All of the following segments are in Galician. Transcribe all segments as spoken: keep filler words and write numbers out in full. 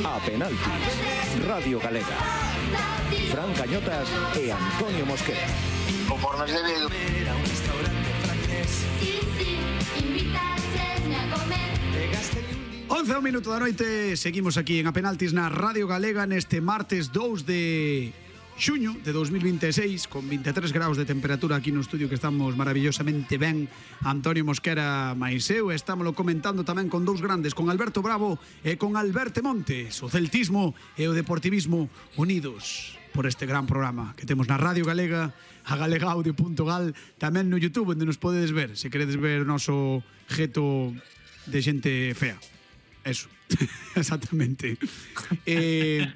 A Penaltis, Radio Galega. Fran Cañotas e Antonio Mosquera. O por nos debe... Sí, sí, invitaxesme a comer. once ao minuto da noite, seguimos aquí en A Penaltis na Radio Galega neste martes dous de xuño de dos mil vinte e seis, con vinte e tres graus de temperatura aquí no estudio, que estamos maravillosamente ben Antonio Mosquera máis eu. Estámoslo comentando tamén con dous grandes, con Alberto Bravo e con Alberto Montes. O celtismo e o deportivismo unidos por este gran programa que temos na Radio Galega, a galegaudio punto gal, tamén no YouTube, onde nos podedes ver se queredes ver o noso jeto de xente fea. Eso, exactamente. eh,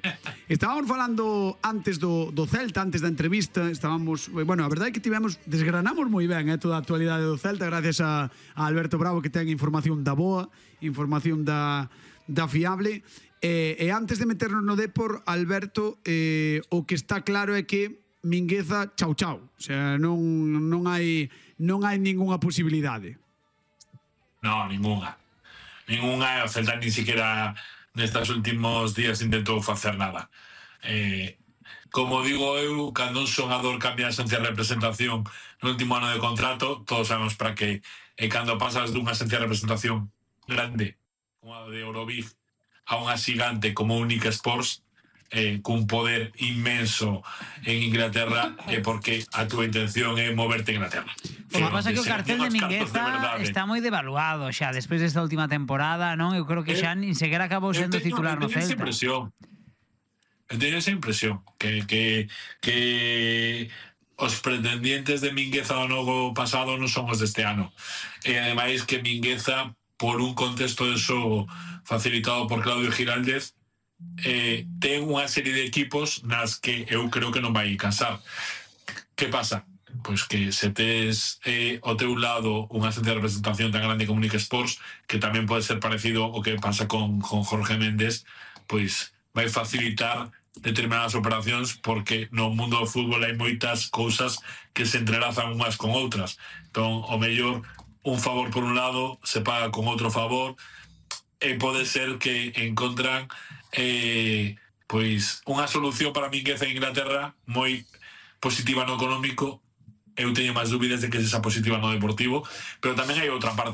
Estábamos falando antes do, do Celta, antes da entrevista. Estábamos, bueno, a verdade é que tivemos, desgranamos moi ben eh, toda a actualidade do Celta, gracias a, a Alberto Bravo, que ten información da boa, información da, da fiable. eh, E antes de meternos no Depor, Alberto, eh, o que está claro é que Mingueza, chau chau. O sea, non, non hai non hai ningunha posibilidade. No, ninguna. Ninguna, o Celta ni siquiera nestes últimos días intentou facer nada. Eh, como digo eu, cando un xogador cambia a esencia de representación no último ano de contrato, todos sabemos para que, e cando pasas dunha esencia de representación grande, como a de Eurobig, a unha xigante como Única Sports, eh, cun poder inmenso en Inglaterra, é eh, porque a túa intención é moverte en Inglaterra. O que pasa é que o cartel de Mingueza está moi devaluado xa despois desta última temporada, non? Eu creo que xa nin sequera acabou sendo titular no Celta. Eu teño esa impresión. Eu teño esa impresión que, que, que os pretendientes de Mingueza do novo pasado non son os deste ano. E ademais que Mingueza, por un contexto de xogo facilitado por Claudio Giraldez, eh, ten unha serie de equipos nas que eu creo que non vai cansar. Que pasa? Pois que se tes eh, ao teu lado unha esencia de representación tan grande como Única Sports, que tamén pode ser parecido ao que pasa con, con Jorge Méndez, pois vai facilitar determinadas operacións, porque no mundo do fútbol hai moitas cousas que se entrelazan unhas con outras. Entón, o mellor, un favor por un lado se paga con outro favor, e pode ser que encontran eh, pois unha solución para Mingueza en Inglaterra moi positiva no económico. Eu teño máis dúbidas de que esa positiva no deportivo, pero tamén hai outra parte